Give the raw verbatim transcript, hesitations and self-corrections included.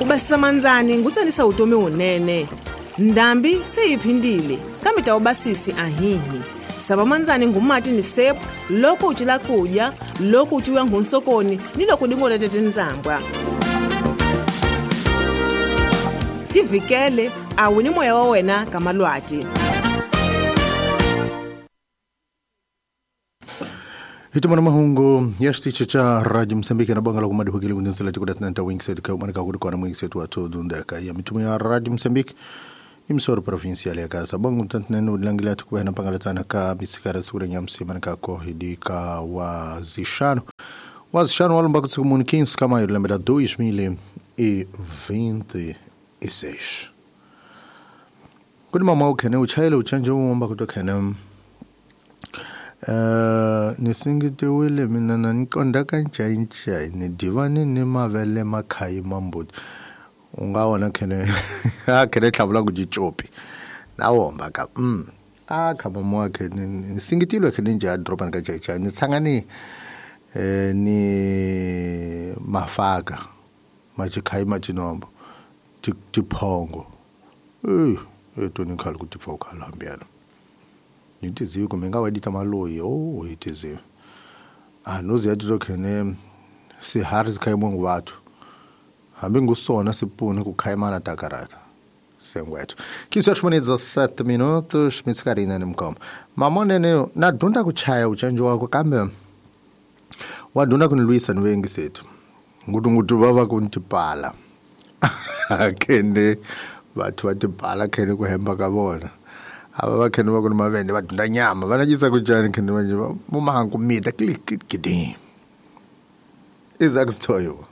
Ku basisa mandzani ngutsanisa vutomi wunene. Ndhambi se yi phindile, kambe ta wu basisi ahihi. Sava mandzani ngumati ni sepu loko u cila kudya, loko u ciwa nghunsokoni ni loko dingolete tindzambwa. Tivikele a wu ni moya wa wena ka malwati. Hitumana mahungu ya xitichi xa Radio Mozambique na banga la kumadi hukile kundinsela tikuda tinanta wingset ka umanika kuri kona mwingset wa todo ndeka ya mitumo ya Radio Mozambique imsoro provincial ya Gaza bangu mtantinene ulangila tukuwa na pangalatana ka misikara sikura nyamsi manika kohidika wa zishano wa zishano walumba kutsukumuni quinze kama yulembera dois mil e vinte e seis. Kuni mama ukhene uchayele uchanje umba kutokhene Uh, nisingitiwile mina na niqonda kanjani ni divane ni mavele makhayi mambuti ungaona khene a khene tlhavula ku jichopi nawomba ka mm a khaba mo khe nisingitilwe khene nje a dropa ka jaja ni tsangani eh ni mafaka majikhayi majinombo tiphongo eh etoni khali ku tifoka hambiyana nitiziwe kumbe nga wadita maloyi oh itiziwe anozi yathi lokhene sihari sikhayimwe ngubathu hambi ngusona sipune kukhayimana takarata sengwethu quinze horas e dezessete minutos mitskarina nemkoma mamonene na dunda kuchaya uchanjo wako kambe wadunda kunilwisa niwengi sethu ngutu ngutu vava kuntipala kende bathu vatipala khene kuhemba ka vona ava va khene va ku ni mavende va dunda nyama va nacisa ku cani khene manje mumahanku mita klik kidi Isaac Stoyo.